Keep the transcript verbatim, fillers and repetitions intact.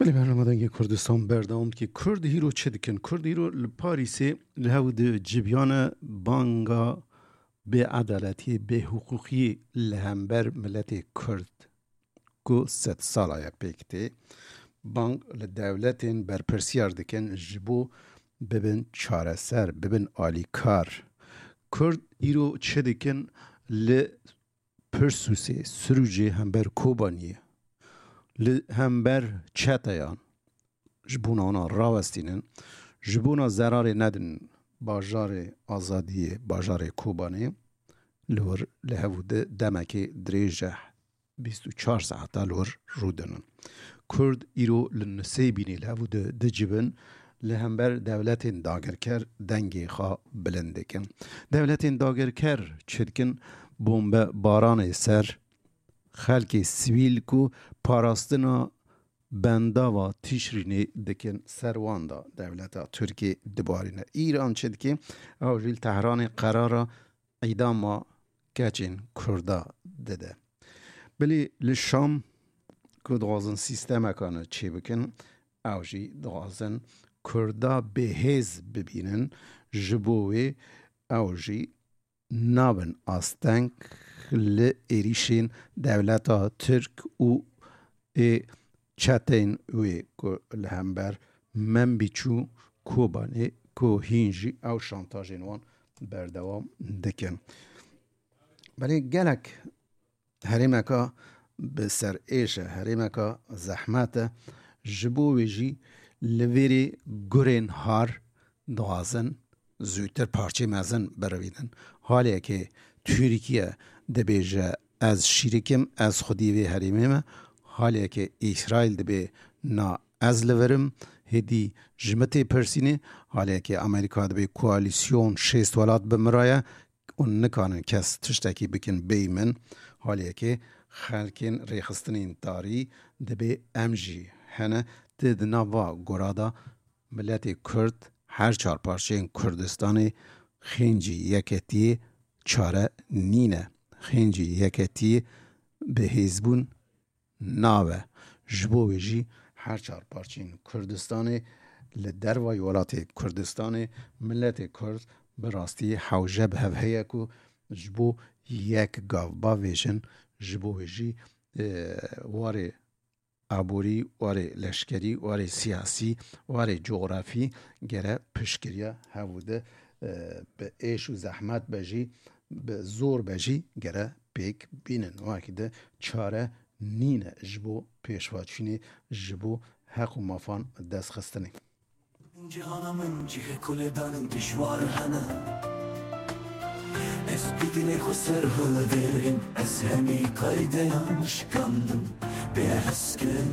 Li bernama Dengê Kurdistan berdewam dike. Kurd hîro çi dikin? Kurd hîro li Parîsê li hev di cibiyane banga bêedaletiyê, bêhiqûqiyê li hember miletê Kurd ku sed sala ye pêk tê. Bang li dewletên berpirsiyar dikin ji bo bibin çareser, bibin alîkar. Kurd îro çi dikin li Pirsûsê, Sirûcê hember Kobaniyê, li hember çeteyan ji bona wana rawestînin, ji bona zerarê nedin bajarê azadiyê, bajarê Kobanê, li wir li hev û di demekê dirêj e, bîst û çar saeta li wir rûdinin. Kurd îro li Nisêbînê li hev û di dicivin, li hember dewletên dagirker dengê xwe bilind dikin. Dewletên dagirker çi dikin? Bombe baranê ser xelkê sivîl ku parastina bendava Tişrînê dikin ser wan de dewleta Tirkiyê dibarîne. Îran çi dike? Ew jî li Tehranê qerara îdama keçên Kurda dide. Bilî li Şam ku dixwazin sîstemekane çêbikin, ew jî dixwazin Kurda bêhêz bibînin, ji bo wê ew jî nabin asteng li êrîşên dewleta Tirk û ê çeteyên wê ku li hember Menbîç û Kobanê ku hîn jî ew şantajên wan berdewam dikin. Belê gelek herêmeka bi ser êş e, herêmeka zehmet e, ji bo wê jî li vêrê gurên har dixwazin zûtir parçeyê mezin birivînin. Haliyekê Tirkiye dibêje, ez şîrik im, ez xwedî vê herêmê me. Haliyekê Îsraîl dibê, na, ez li vir im, hêdî ji min tê pirsînê. Haliyekê Amerîka dibê koalîsyon şêst welat bi min re ye û nikarin kes tiştekî bikin bêyî min. Haliyekê xelkên rêxistinên tarî dibê em jî hene. Di, di nav va gora de miletê Kurd, her çar parçeyên Kurdistanê xêncî yeketiyê çare nîne. Xêncî yeketiyê bi hêzbûn nabe. Ji bo wê jî her çar parçeyên Kurdistanê li dervayî welatê Kurdistanê miletê Kurd bi rastî hewce bi hev heye ku ji bo yek gav bavêjin, ji bo wê jî, e, warê aborî, warê leşkerî, warê siyasî, warê cografî gere piştgiriya hev û di, e, bi êş û zehmet be jî, bi zor be jî gere pêk bînin. Wekî di çare nîne ji bo pêşvaçûnê, ji bo heq û mafan destxistinê. Cihana min cihê kulê danin dijwar hene. Ez bi dilê xwe ser hilvêrim, ez hemî qaydeyan şikandim, bê heskin.